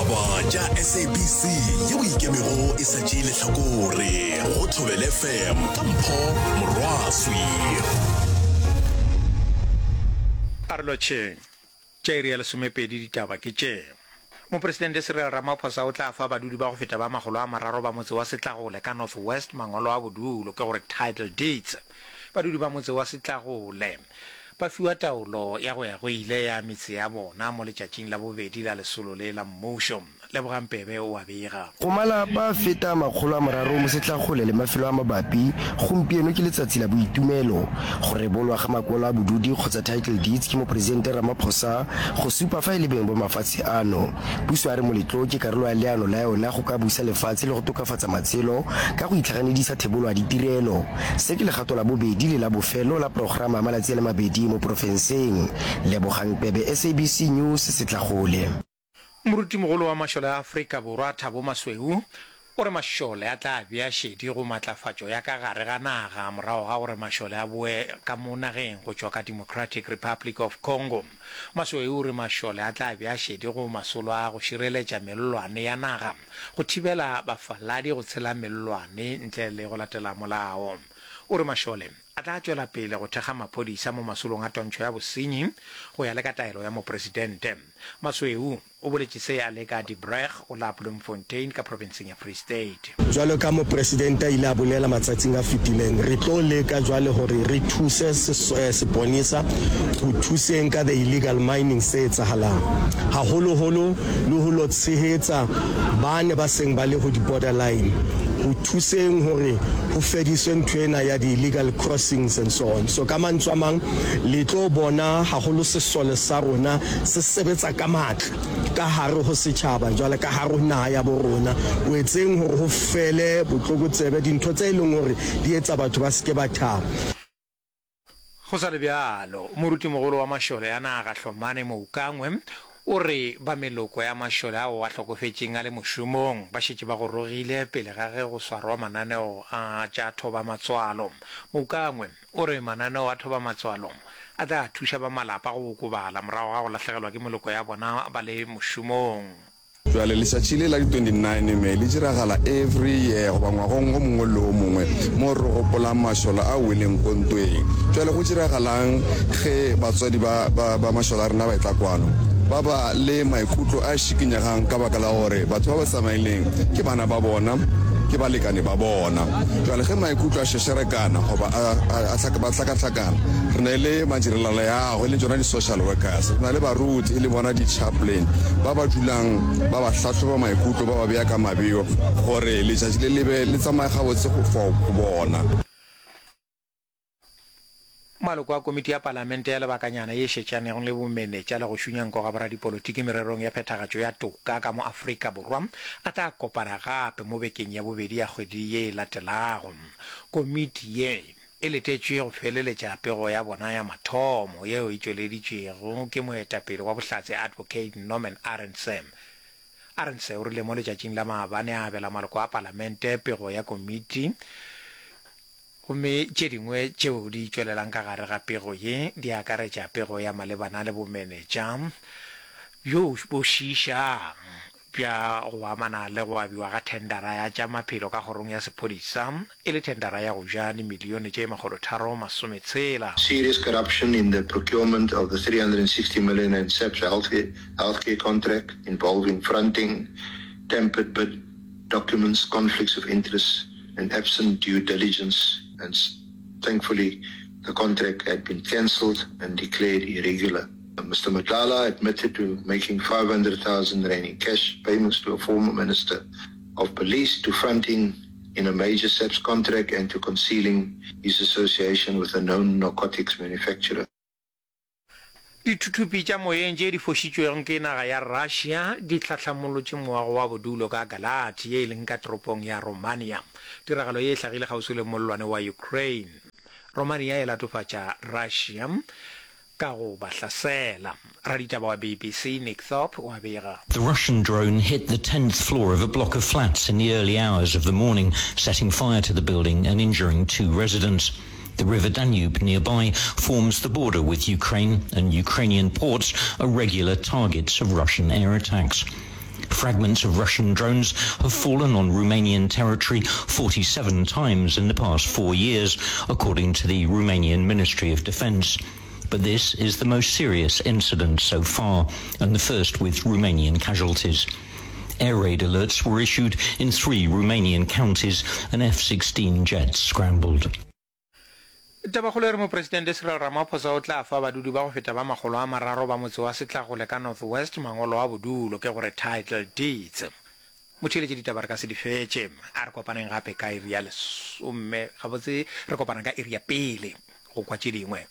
Ditaba tša SABC yeo e ikemego e sa tšee lehlakore go Thobela FM ka Mpho Morwaswi. A re lotšheng. Tša iri ya lesomepedi ditaba ke tše. Mopresidente Cyril Ramaphosa o tla fa badudi ba go feta ba makgolo a mararo ba motse wa Setlagole ka North West mangwalo a bodulo, ke gore title deeds. Badudi ba motse wa Setlagole ba fiwa taolo ya go ya go ile ya metse ya bona mo letšatšing la bobedi la lesolo le la mmušo. Lebogang Pebe o a bega. Go malapa a feta a 300 mo Setlagole le mafelo a mabapi, gompieno ke letsatsi la boitumelo. Go rebolwa ga makwalo a bodudi kgotsa title deeds ke Mopresidente Ramaphosa go supa fa e le beng ba mafatshe ano. Puso a re moletlo ke karolo ya leano la yona go ka busa lefatshe le go tokafatsa matshelo ka go itlhaganedisa thebolo ya ditirelo. Se ke legato la bobedi le la bofelo la programa ya malatsi a le mabedi mo porofenseng. Lebogang Pebe, SABC News, Setlagole. Morutimogolo wa mašole a Afrika Borwa Thabo Masweu o re mašole a tla bea šedi go matlafatšo ya ka gare ga naga morago ga gore mašole a boe ka mo nageng go tšwa ka Democratic Republic of Congo. Masweu o re mašole a tla bea šedi go masolo a go šireletša mellwane ya naga go thibela bafaladi go tshela mellwane ntle le go latela molao. O re mašole a tla tšwela pele go thekga maphodisa mo masolong a twantšho ya bosenyi go ya le ka taelo ya mopresidente. Masweu o boletše se a le ka Die Brug go la Bloemfontein ka profenseng ya Free State. Jwalo ka Mopresidente a ile a bolela matsatsing a fetileng, re tlo leka jwale hore re thuse seponesa ho thuseng ka the illegal mining se etsahalang, haholoholo le ho lo tshehetsa bane ba seng ba le ho di-border line ho thuseng hore ho fediswe ntho ena ya di-illegal crossings and so on. So ka mantswe a mang, le tlo bona haholo sesole sa rona se sebetsa ka matla ka hare ho setjhaba jwale ka hare ho naha ya bo rona ho etseng hore ho fele botlokotsebe, dintho tse e leng hore di etsa batho ba se ke ba thaba. Go sa le bjalo, morutimogolo wa mašole a naga Hlomane Moukangwe o re ba meloko ya mašole ao a hlokofetšeng a le mošomong ba šetše ba gorogile pele ga ge go swarwa mananeo a tša thobamatswalo. Moukangwe O re mananeo a thobamatswalo a tla thuša ba malapa go okobala morago ga go lahlegelwa ke meloko ya bona ba le mošomong. Bjale letšatši le la di 29 May le diragala every year goba ngwagong o mongwe le o mongwe mo re gopolang mašole a weleng ko ntweng. Bjale go diragalang ge batswadi ba, ba, ba mašole a rena ba etla kwano? Ba ba le maikutlo a šikinyegang ka baka la gore batho ba ba tsamaileng ke bana ba bona, ke balekane ba bona. Bjale ge maikutlo a šešerekana goba a, a, a, ba hlakahlakana, re na le madirelaleago, e leng tšona di-social workers, re na le baruti, e le bona di-chaplain, ba ba dulang ba ba hlahloba maikutlo, ba ba bea ka mabeo gore letšatši le le be le tsamaye gabotse go for go bona. Maloko a komiti ya palamente ya lebakanyana ye šetšanego le bomenetša le go šunya nko ga boradipolotiki mererong ya phethagatšo ya toka ka mo Afrika Borwa a tla kopana gape mo bekeng ya bobedi ya kgwedi ye e latelago. Komiti ye e letetšwe go feleletša pego ya bona ya mathomo yeo e tšweleditšwego ke moetapele wa bohlatse Advocate Norman Arendse. Arendse o rile mo letšatšing la maabane a abela maloko a palamente pego ya komiti Gomme tše dingwe tšeo di tšwelelang ka gare ga pego ye di akaretša pego ya malebana le bomenetša bjo bo šiišang bja go amana le go abiwa ga thendara ya tša maphelo ka kgorong ya sephodisa e le thendara ya go ja dimilione tše 360. Serious corruption in the procurement of the 360 million rand SAPS healthcare contract involving fronting tampered bid documents, conflicts of interest and absent due diligence and thankfully the contract had been cancelled and declared irregular. Mr Matlala admitted to making 500,000 rand in cash payments to a former minister of police, to fronting in a major SAPS contract and to concealing his association with a known narcotics manufacturer. Dithuthupi tša moyeng tše di fošitšwego ke naga ya Russia di hlahlamolotše moago wa bodulo ka Galați ye e leng ka toropong ya Romania. Tiragalo ye e hlagile kgauswi le mollwane wa Ukraine. Romania e latofatša Russia ka go ba hlasela. Raditaba wa BBC Nick Thorpe o a bega. The Russian drone hit the 10th floor of a block of flats in the early hours of the morning, setting fire to the building and injuring two residents. The River Danube nearby forms the border with Ukraine, and Ukrainian ports are regular targets of Russian air attacks. Fragments of Russian drones have fallen on Romanian territory 47 times in the past four years, according to the Romanian Ministry of Defense. But this is the most serious incident so far, and the first with Romanian casualties. Air raid alerts were issued in three Romanian counties and F-16 jets scrambled. Tabakgolo e re Mopresidente Cyril Ramaphosa o tla fa badudi ba go feta ba makgolo a mararo ba motse wa Setlagole ka North West mangolo a bodulo, ke gore title deeds. Motheeletši ditaba re ka se di fetše. A re kopaneng gape ka iri ya lesome, gabotse re kopana ka iri ya pele go kwa tše dingwe.